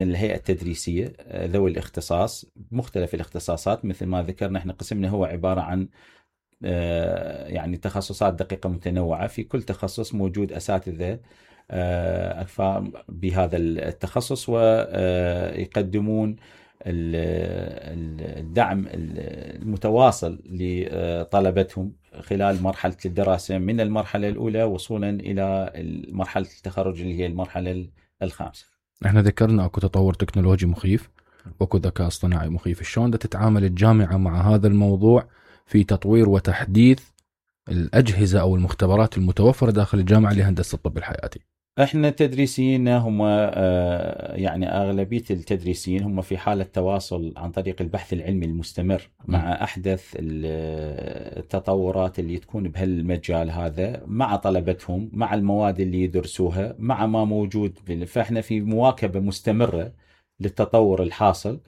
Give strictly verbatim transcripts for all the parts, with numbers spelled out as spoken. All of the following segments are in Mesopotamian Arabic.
الهيئة التدريسية ذوي الاختصاص مختلف الاختصاصات. مثل ما ذكرنا احنا قسمنا هو عبارة عن يعني تخصصات دقيقة متنوعة، في كل تخصص موجود أساتذة أكفاء بهذا التخصص ويقدمون الدعم المتواصل لطلبتهم خلال مرحلة الدراسة من المرحلة الأولى وصولا إلى مرحلة التخرج اللي هي المرحلة الخامسة. احنا ذكرنا اكو تطور تكنولوجي مخيف واكو ذكاء اصطناعي مخيف، شلون تتعامل الجامعة مع هذا الموضوع في تطوير وتحديث الأجهزة أو المختبرات المتوفرة داخل الجامعة لهندسة الطب الحياتي؟ احنا تدريسيين هم يعني اغلبيه التدريسيين هم في حاله تواصل عن طريق البحث العلمي المستمر مع احدث التطورات اللي تكون بهالمجال هذا مع طلبتهم، مع المواد اللي يدرسوها، مع ما موجود. فاحنا في مواكبه مستمره للتطور الحاصل،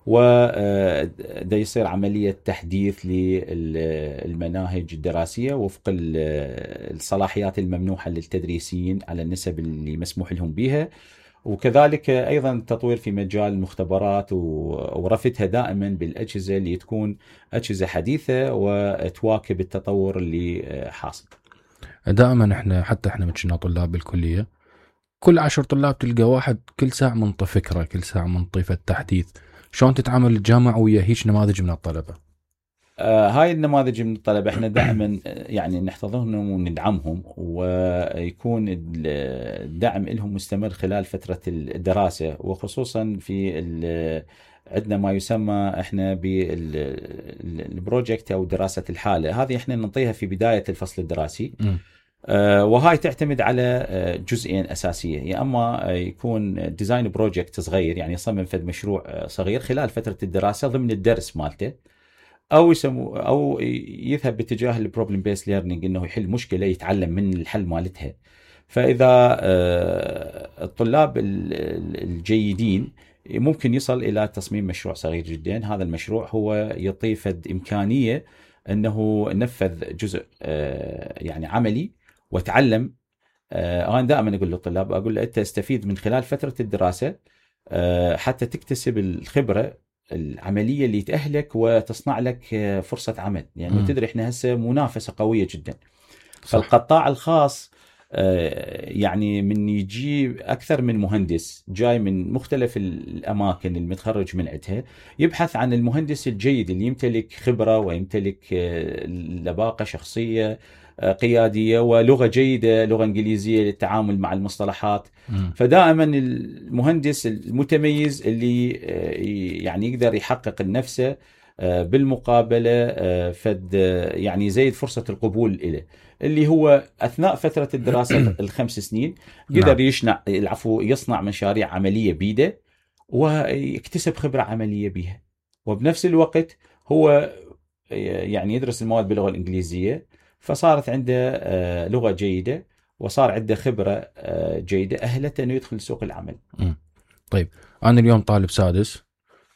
وده يصير عملية تحديث للمناهج الدراسية وفق الصلاحيات الممنوحة للتدريسيين على النسب اللي مسموح لهم بها، وكذلك أيضا التطوير في مجال المختبرات ورفتها دائما بالأجهزة اللي تكون أجهزة حديثة وتواكب التطور اللي حاصل. دائما احنا حتى احنا متشنا طلاب بالكلية، كل عشر طلاب تلقى واحد كل ساعة منطي فكرة، كل ساعة منطي التحديث. شلون تتعامل الجامعة ويا هيك نماذج من الطلبة؟ آه هاي النماذج من الطلبة احنا دائما يعني نحتضنهم وندعمهم، ويكون الدعم لهم مستمر خلال فترة الدراسة، وخصوصا في عندنا ما يسمى احنا بالبروجكت او دراسة الحالة. هذه احنا نعطيها في بداية الفصل الدراسي. م. وهاي تعتمد على جزئين أساسية، يا أما يكون ديزاين بروجكت صغير يعني يصمم فد مشروع صغير خلال فترة الدراسة ضمن الدرس مالته، أو يسمو أو يذهب باتجاه البروبلم بيس ليرنينج إنه يحل مشكلة يتعلم من الحل مالتها. فإذا الطلاب الجيدين ممكن يصل إلى تصميم مشروع صغير جدا. هذا المشروع هو يعطي فد إمكانية أنه نفذ جزء يعني عملي وتعلم. أنا دائما أقول للطلاب، أقول له أنت استفيد من خلال فترة الدراسة حتى تكتسب الخبرة العملية اللي تأهلك وتصنع لك فرصة عمل، يعني م. تدري إحنا هسه منافسة قوية جدا. صح. فالقطاع الخاص يعني من يجي أكثر من مهندس جاي من مختلف الأماكن المتخرج من عندها، يبحث عن المهندس الجيد اللي يمتلك خبرة ويمتلك لباقة شخصية قيادية ولغة جيدة، لغة إنجليزية للتعامل مع المصطلحات. م. فدائما المهندس المتميز اللي يعني يقدر يحقق نفسه بالمقابلة فد يعني يزيد فرصة القبول إليه، اللي هو أثناء فترة الدراسة الخمس سنين يقدر يشنع العفو يصنع مشاريع عملية بيده ويكتسب خبرة عملية بها، وبنفس الوقت هو يعني يدرس المواد باللغة الإنجليزية، فصارت عنده لغة جيدة وصار عنده خبرة جيدة أهلته أنه يدخل سوق العمل. م. طيب أنا اليوم طالب سادس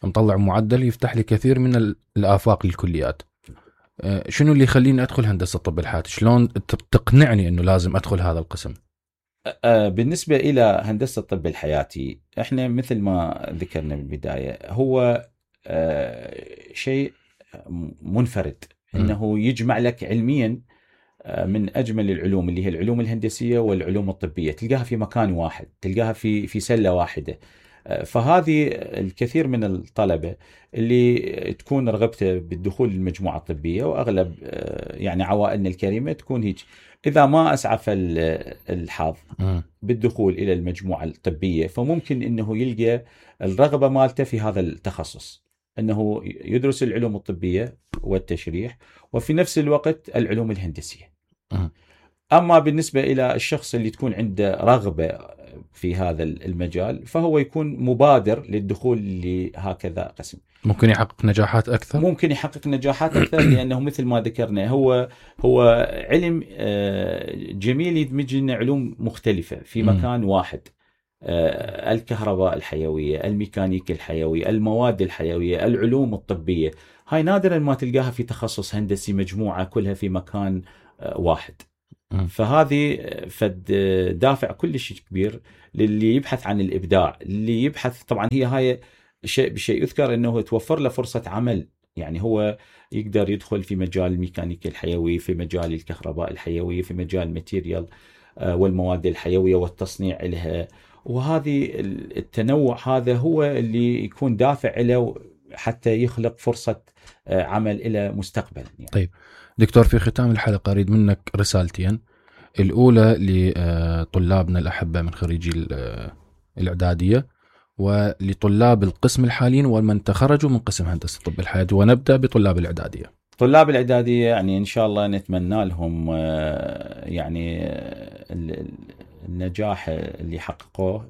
مطلع معدل يفتح لي كثير من الآفاق للكليات، شنو اللي يخليني أدخل هندسة الطب الحياتي؟ شلون تقنعني أنه لازم أدخل هذا القسم؟ بالنسبة إلى هندسة الطب الحياتي احنا مثل ما ذكرنا بالبداية هو شيء منفرد، انه يجمع لك علميا من اجمل العلوم اللي هي العلوم الهندسيه والعلوم الطبيه، تلقاها في مكان واحد، تلقاها في في سله واحده. فهذه الكثير من الطلبه اللي تكون رغبته بالدخول للمجموعه الطبيه، واغلب يعني عوائلنا الكريمه تكون هيك، اذا ما اسعف الحظ بالدخول الى المجموعه الطبيه فممكن انه يلقى الرغبه مالته في هذا التخصص، انه يدرس العلوم الطبيه والتشريح وفي نفس الوقت العلوم الهندسيه. اما بالنسبه الى الشخص اللي تكون عنده رغبه في هذا المجال فهو يكون مبادر للدخول لهكذا قسم، ممكن يحقق نجاحات اكثر ممكن يحقق نجاحات اكثر لانه مثل ما ذكرنا هو هو علم جميل يدمج لنا علوم مختلفه في مكان واحد. الكهرباء الحيوية، الميكانيكا الحيوية، المواد الحيوية، العلوم الطبية، هاي نادرا ما تلقاها في تخصص هندسي مجموعة كلها في مكان واحد. فهذه فد دافع كلش كبير للي يبحث عن الإبداع، اللي يبحث طبعا هي هاي شيء بشيء يذكر أنه توفر له فرصة عمل، يعني هو يقدر يدخل في مجال الميكانيكا الحيوي، في مجال الكهرباء الحيوية، في مجال الماتيريال والمواد الحيوية والتصنيع لها، وهذه التنوع هذا هو اللي يكون دافع له حتى يخلق فرصة عمل إلى مستقبل يعني. طيب دكتور، في ختام الحلقة أريد منك رسالتين، الأولى لطلابنا الأحبة من خريجي الإعدادية ولطلاب القسم الحاليين ومن تخرجوا من قسم هندسة طب الحياة، ونبدأ بطلاب الإعدادية. طلاب الإعدادية يعني إن شاء الله نتمنى لهم يعني النجاح اللي حققوه،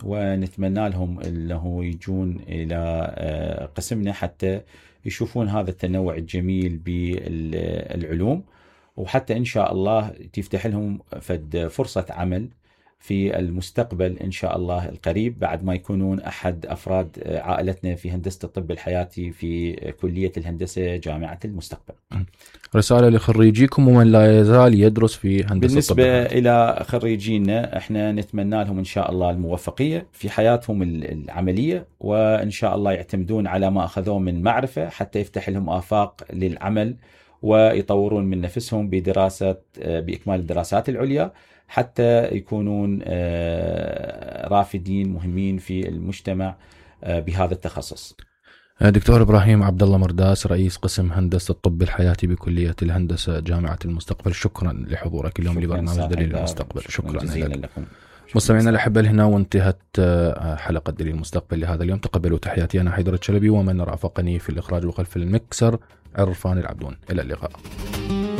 ونتمنى لهم أنه يجون إلى قسمنا حتى يشوفون هذا التنوع الجميل بالعلوم، وحتى إن شاء الله تفتح لهم فد فرصة عمل في المستقبل إن شاء الله القريب، بعد ما يكونون أحد أفراد عائلتنا في هندسة الطب الحياتي في كلية الهندسة جامعة المستقبل. رسالة لخريجيكم ومن لا يزال يدرس في هندسة بالنسبة الطب الحياتي. إلى خريجينا احنا نتمنى لهم إن شاء الله الموفقية في حياتهم العملية، وإن شاء الله يعتمدون على ما أخذوه من معرفة حتى يفتح لهم آفاق للعمل، ويطورون من نفسهم بدراسة بإكمال الدراسات العليا حتى يكونون رافدين مهمين في المجتمع بهذا التخصص. دكتور إبراهيم عبد الله مرداس، رئيس قسم هندسة الطب الحياتي بكلية الهندسة جامعة المستقبل، شكرا لحضورك اليوم لبرنامج دليل المستقبل. شكرا جزيلا لكم مستمعينا الأحبة. هنا وانتهت حلقة دليل المستقبل لهذا اليوم. تقبلوا تحياتي أنا حيدر الشلبي، ومن رافقني في الإخراج وخلف المكسر عرفان العبدون. إلى اللقاء.